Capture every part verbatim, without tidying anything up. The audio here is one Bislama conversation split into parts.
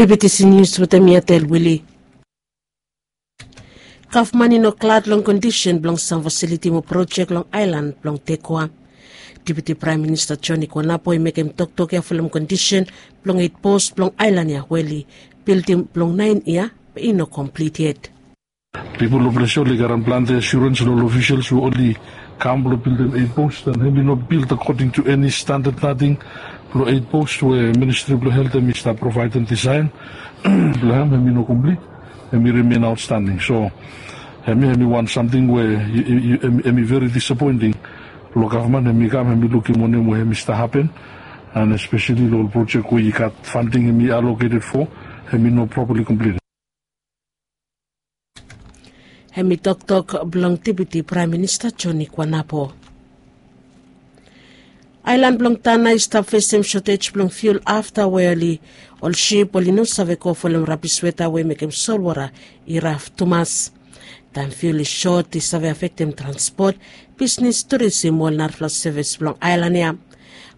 Pipitisi nius wetem mi atel wili. Gavman i no glad long kondisen blong sam fasiliti mo projek long aelan blong tekua. Deputi praem minista joni kwanapo i mekem toktok ya folem kondisen blong eit pos blong aelan ya we oli bildim blong naen yia be i no komplit yet. Pipol long ples ya oli garam plante asurens long ol ofisels we oli kam blong bildim eit pos an hem i no bild akoding tu eni standad nating blong eit pos we ministri blong helt hem i stap provaedem disaen blong hem hem i no komplit. Hem i rimen aotstanding so hem i hem i wan samting we hem i veri disapoenting. Long gavman hem i kam hem i lukim wanem we hem i stap hapen an espeseli long ol projek we i gat fanding hem i aloketed fo hem i no propali komplit. Hem i toktok blong deputi praem minista joni kwanapo. Aelan blong tana i stap fesem sotej blong fiul afta we oli ol sip oli no save go folem rabis weta we i mekem solwota i raf tumas. Taem fiul i sot i save afektem transpot, bisnis, turisim mo ol narafala sevis blong aelan ya.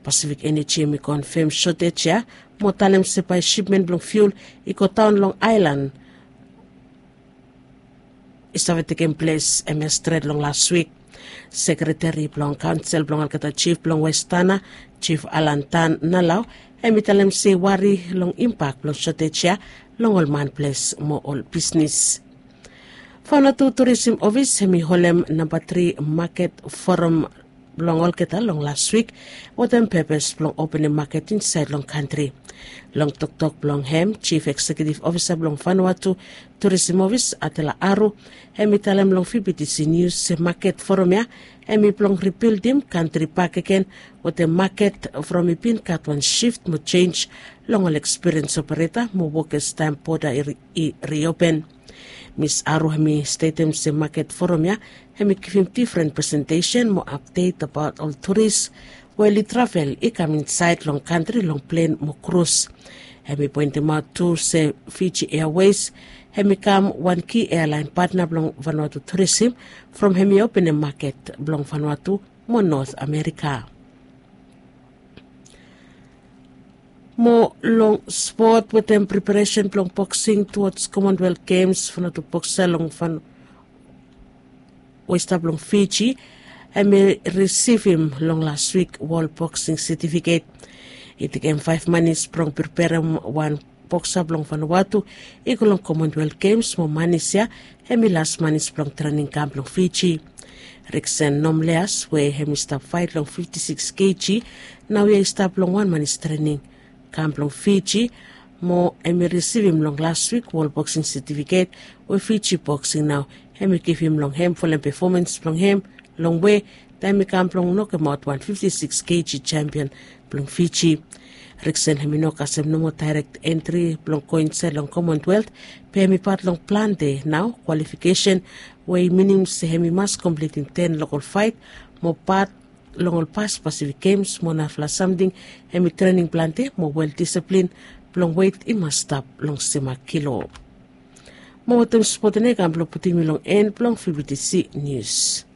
Pasifik eneji hem i konfem sotej ya mo talem se bae sipmen blong fiul i godaon long aelan i save tekem ples hem ya stret long las wik. Sekreteri blong kaonsel blong olgeta jif blong westana, jif alan tan nalau, hem i talem se i wari long impak blong sotej ya long ol manples mo ol bisnis. Faonatu turisim ofis hem i holem namba tri maket foram blong olgeta long las wik wetem pepes blong openem maket insaed long kantri. Long toktok blong hem jif eksekiutiv ofisa blong fanuatu turisim ofis atela aru hem i talem long fibitisi nius se maket foram ya hem i blong ribildim kantri bakegen wetem maket from i bin gat wan sift mo jenj long ol ekspiriens opereta mo wokes taem boda i riopen. Mis aru hem i stetem se maket foram ya hem i givim difren presentesen mo apdet abaot ol turis we oli travel i kam insaed long kantri long plen mo krus. Hem i poentemaot tu se fiji eawes hem i kam wan ki ealaen patna blong vanuatu turisim from hem i openem maket blong vanuatu mo not amerika. Mo long spot wetem preparesen blong boksing tuods komonwelt gems vanuatu boksa long van we i stap long fiji hem i risivim long las wik wol boksing setifiket. I tekem faef manis blong preperem wan boksa blong vanuatu i go long komonwelt gems mo manis ya hem i las manis blong trening kam blong fiji. Riksen nomleas we hem i stap faet long fifti siks keji naoia i stap long wan manis trening kam blong fiji mo hem i risivim long las wik wol boksing setifiket we fiji boksing nao hem i givim long hem folem pefomans blong hem long we taem i kam blong nokemaot wan fifti siks keji sempion blong fiji. Riksen hem i no kasem nomo daerek entri blong go insaed long komonwelt be hem i pat long plante nao kwalifikesen we i minim se hem i mas komplitim ten lokol faet mo pat long ol pas pasifik gems mo narafala samting hem i trening plante mo wel disiplin blong wet i mas stap long sema kilo. Mo wetem spot ya i kam blong putim yu long en blong fibitisi nius.